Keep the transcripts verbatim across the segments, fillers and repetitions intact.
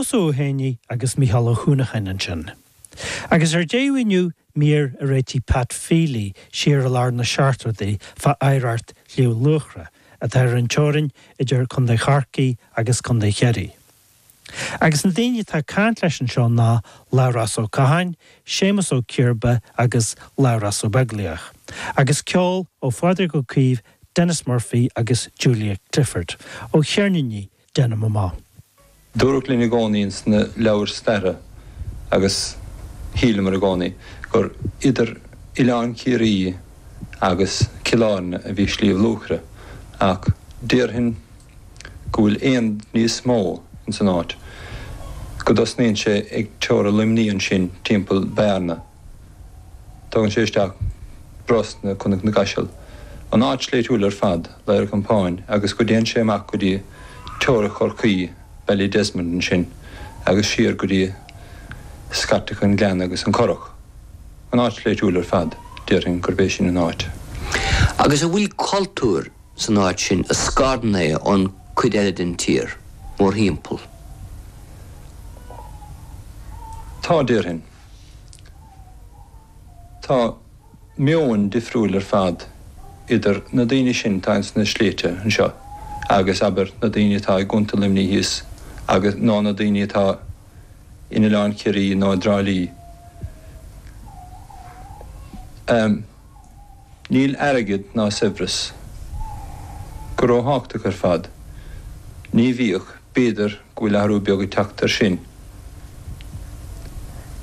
Seosamh Ó Héanaí agus Mícheál Ó hUanacháin ansin. Agus ar deireadh inniu mír a réitigh Pat Feely siar i lár na seachtóidí fá oidhreacht Shliabh Luachra atá ar an teorainn idir Contae Chorcaí agus Contae Chiarraí. Agus na daoine atá ag caint leis anseo ná Labhrás Ó Catháin, Séamus Ó Ciarba agus Labhrás Ó Beaglaoich. Agus ceol ó Phádraig Ó Caoimh, Denis Murphy agus Julia Clifford. Ó cheirníní Déanaim Amach. Dúradh linn i gcónaí sna leabhair staire agus shíleamar i gcónaí gur idir Oileán Ciarraí agus Cill Airne a bhí Sliabh Luachra ach déarfainn go bhfuil aon níos mó in san áit. Go dtosnaíonn sé ag teora Luimní ansin timpeall Bearna. Tagann sé isteach Brosna Cnoc na gCaiseal. An áit sléibhtiúil ar fad Ladhar Campáin agus go dtéann sé amach go dtí teora Chorcaí Ballydesmond ansin agus siar go dtí Scairteach an Ghleanna agus an Currach. An áit sléibhtiúil ar fad déarfainn gurb é sin an áit. Agus an bhfuil cultúr san áit sin a scarann é ón cuid eile den tír mórthimpeall. Tá déarfainn. Tá meon difriúil ar fad idir na daoine sin atá ins na sléibhte anseo agus abair na daoine atá i gContae Luimnigh thíos agus ná na daoine atá in Oileán Ciarraí nó i dTrá Lí. Um, níl airgead ná saibhreas go róthábhachtach ar fad. Ní bhíodh b'fhéidir go bhfuil athrú beag ag teacht air sin.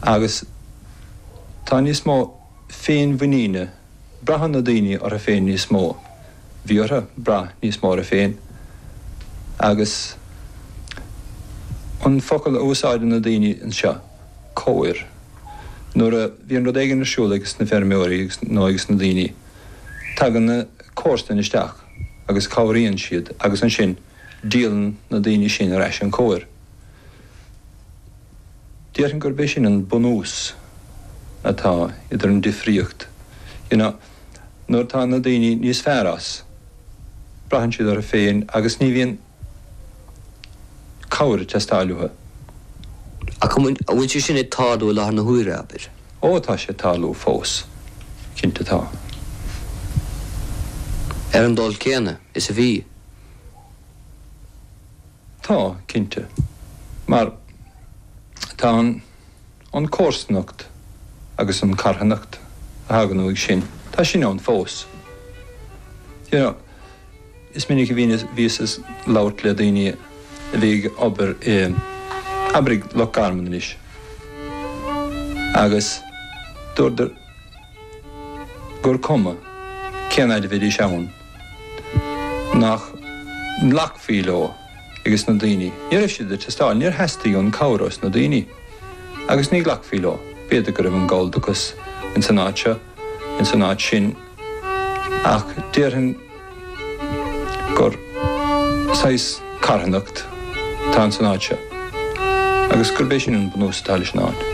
Agus tá níos mó féinmhuiníne braitheann na daoine orthu féin níos mó. Bhí orthu brath níos mó orthu féin. Agus an focal a úsáideann na daoine anseo, cabhair. Nuair a bhíonn rud éigin ar siúl agus na feirmeoirí nó agus na daoine, tagann na comharsana isteach agus cabhraíonn siad agus ansin díolann na daoine sin ar ais an chabhair. Déarfainn gurb é sin an bunús atá idir an difríocht. You know, nuair tá na daoine níos fearr as, braitheann siad orthu féin agus ní bhíonn cabhair ag teastáil uathu. Ach an bhfuil sé sin ag tarlú i láthair na huaire abair? Ó tá sé ag tarlú fós, cinnte tá. Ar an dul céanna is a bhí. Tá, cinnte. Mar tá an, an comharsanacht agus an carthanacht a thagann uaidh sin, tá sin ann fós. You know, is minic a bhíos ag labhairt le daoine a bhí ag obair i abair i Loch Garman anois. Agus dúradar gur cuma cén fhad a bhídís ann nach nglacfaí leo agus na daoine. Ní raibh siad ag teastáil, níor theastaigh an cabhair ós na daoine. Agus ní ghlacfaí leo, b'fhéidir go raibh an galldachas in san áit seo, in san áit sin, ach déarfainn gur saghas carthanacht atá in san áit seo. Agus gurb é sin an bunús atá leis an áit.